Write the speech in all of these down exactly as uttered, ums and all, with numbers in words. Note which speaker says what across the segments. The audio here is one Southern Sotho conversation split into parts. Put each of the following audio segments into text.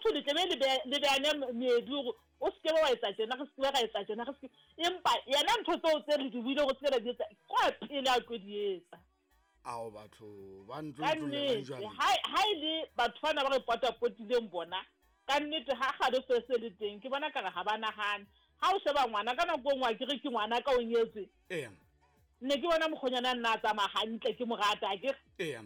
Speaker 1: motho le tlebe le beane meedi gore o seke wa etsa tjena, re seke ra etsa tjena, re seke. Empa yena ntho tseo tse re di buile go seke ra di etsa, kwa pele a tlo di etsa.
Speaker 2: Ao batho ba ntlo jwale.
Speaker 1: Ha ha ile batho bana ba re potapotileng bona, ka nnete ha kgale se se le teng, ke bona ka re ha ba nahane. Ha o sheba ngwana ka nako engwe ke re ke ngwana ka o nyetswe.
Speaker 2: Ee.
Speaker 1: Ne ke bona mokgonyana nna a tsamaya hantle ke mo rata ke.
Speaker 2: Ee.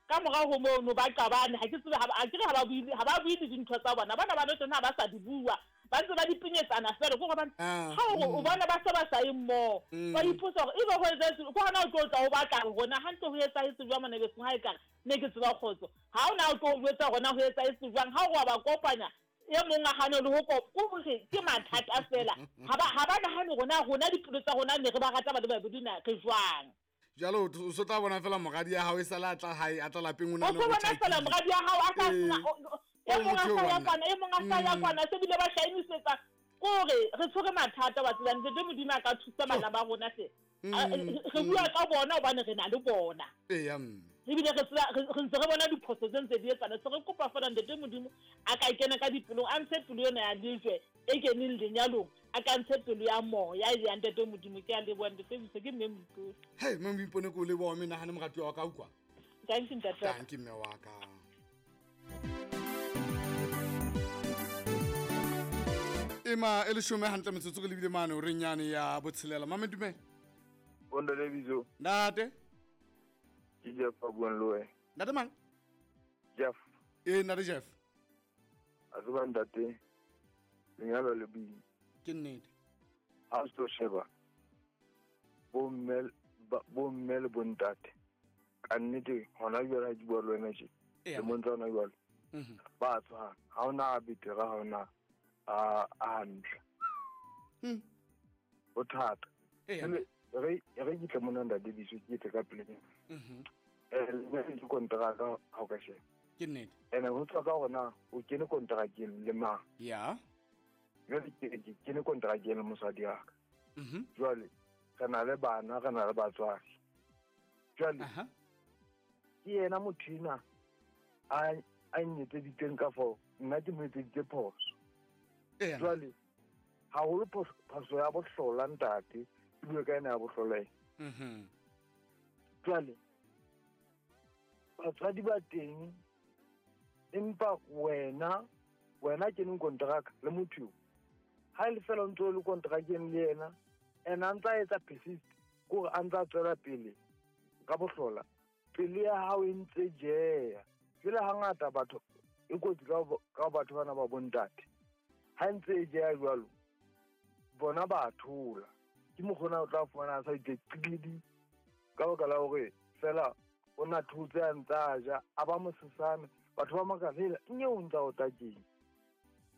Speaker 1: Ka morao ho mono ba qabane, ha ke tsebe ha ba ke re ha ba buile, ha ba buile dintho tsa bona. Bana ba tsona ha ba sa di bua, ba ntse ba di pinyetsana fela go gobane ha o bona ba se ba sa e mmoho. Ba ipotsa hore ebe ho etsahetse ko hona o tlo tla o batla rona hantle ho etsahetse jwang mona besong ha e kare ne ke tseba kgotso. Ha o na o tlo jwetsa rona ho etsahetse jwang ha o wa ba kopanya e mong a hane le ho ko hore ke mathata fela. Ha ba ha ba nahane rona rona dipelo tsa rona ne re ba rata ba le babedi na re jwang.
Speaker 2: Jalo o so tla bona fela moradi ya hao e sala tla hae a tla lapeng o na
Speaker 1: le ho bona fela moradi ya hao a sa e mong a sa ya kwana e mong a sa ya kwana se bile ba shainisetsa kore re tshwere mathata wa tsela ntate Modimo a ka thusa bana ba rona hle. Re bua ka bona hobane re na le bona.
Speaker 2: Ee ya.
Speaker 1: Ebile re tsela re ntse re bona diphoso tse ntse di etsana se re kopa fela ntate Modimo a ka ikena ka dipelong a ntshe pelo yona ya lejwe e keneng lenyalong a ka ntshe pelo ya moya ya ntate Modimo. Ke a leboha ntate Biso, ke mme Moipone.
Speaker 2: Hey mme Moipone ko leboha mme nahane morati wa ka utlwa.
Speaker 1: Thank you ntate.
Speaker 2: Thank you mme wa ka. Ema e leshome hantle metsotso re lebile mane o re nyane ya botshelela. Mame dumela.
Speaker 3: Ntate Biso.
Speaker 2: Ntate.
Speaker 3: Ke Jeff a buang le wena.
Speaker 2: Ntate mang?
Speaker 3: Jeff.
Speaker 2: Eh ntate Jeff.
Speaker 3: A tseba ntate lenyalo le boima.
Speaker 2: Ke nnete.
Speaker 3: Ha o tlo sheba bomme bomme le bontate ka nnete hona jwale ha ke bua le wena tje le montsa hona jwale ba tshwana, ha ona a betere, ha ona a hantle. Ho thata. Re re ke tla mona ntate Biso ke tle ka pele.
Speaker 2: Mhm.
Speaker 3: Eh le ke kontraka ha o ka sheba.
Speaker 2: Ke nnete.
Speaker 3: Ene ho tswa ka hore o kene kontrakeng le mang.
Speaker 2: Ya.
Speaker 3: Jwale ke ke kene kontrakeng le mosadi wa ka.
Speaker 2: Mhm.
Speaker 3: Jwale re na le bana, re na le batswadi. Jwale
Speaker 2: aha.
Speaker 3: Ke yena motho ena a a nyetseditseng ka fo, nna ke mo etseditse phoso. Jwale haholo phoso ya bohlola ntate, ke bue ka ena ya bohlola.
Speaker 2: Mhm.
Speaker 3: Jwale batswadi ba teng empa wena wena keneng kontraka le motho yo. Ha le fela ntse le kontrakeng le yena, ena a ntsa etsa persist kore a ntsa tswela pele ka bohlola. Pele ya hao e ntse jeya. Jwale hangata batho e kotsi ka ka batho bana ba bontate. Ha ntse e jeya jwalo bona ba thola. Ke mokgona o tla fumana a sa itse qidi ka baka la hore fela o na thotse a ntsa ja a ba mosesane batho ba makala hela nye o ntsa o takeng.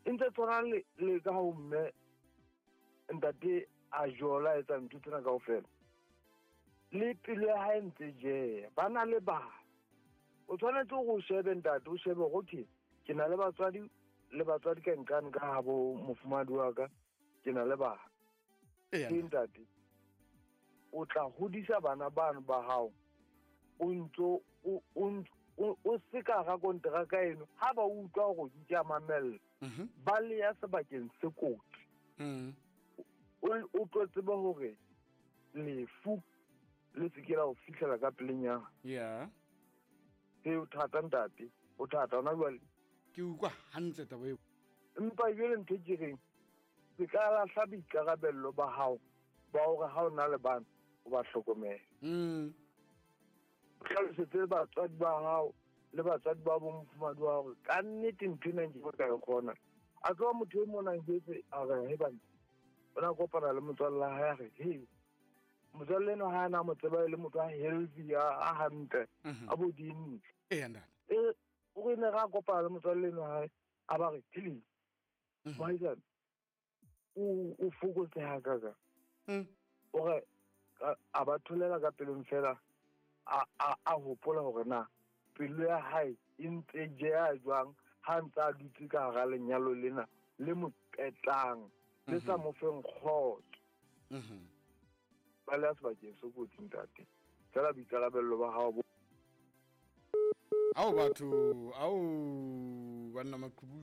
Speaker 3: E ntse tshwana le le ka ho mme ntate a jola etsa ntho tsena kaofela. Le pelo ya hae ntse jeya ba na le bana. O tshwanetse go shebe ntate, o shebe okay ke na le batswadi le batswadi ka nqane ka ha bo mofumadi wa ka ke na le bana.
Speaker 2: Ee
Speaker 3: ntate o tla hodisa bana bano ba hao o ntso o o se ka ga kontraka eno ha ba utlwa gore di tla mamella ba le ya sebakeng se kotsi. O tlo tseba hore lefu le se ke la o fihlela ka pelenyana.
Speaker 2: Yeah.
Speaker 3: E o thata ntate, o thata hona jwale.
Speaker 2: Ke utlwa hantle taba eo.
Speaker 3: Empa jwale ntho ke reng se ka lahla boikarabello ba hao ba hore ha o na le bana o ba hlokomele.
Speaker 2: Mm.
Speaker 3: Hlalosetse batswadi ba hao le batswadi ba bo mofumadi wa hore ka nnete ntho ena ke ka e kgona. A tloha motho e mona jwetse a re he bana o na kopana le motswalle wa hae a re he motswalle eno ha ana mo tseba le motho a healthy a hantle a bodimo.
Speaker 2: Ee ntate.
Speaker 3: E o re ne ra kopana le motswalle eno hae a ba re please mohaisane o o fokotseha ka ka.
Speaker 2: Mm.
Speaker 3: O re a ba tholela ka pelong fela a a a hopola hore na pelo ya hae e ntse jeya jwang ha ntse a dutse ka hara lenyalo lena le mo qetang le sa mo feng kgotso.
Speaker 2: Mhm.
Speaker 3: Ba le sebakeng se kotsi ntate. Fela boikarabello ba hao bo
Speaker 2: Ao batho, ao banna maqhubu.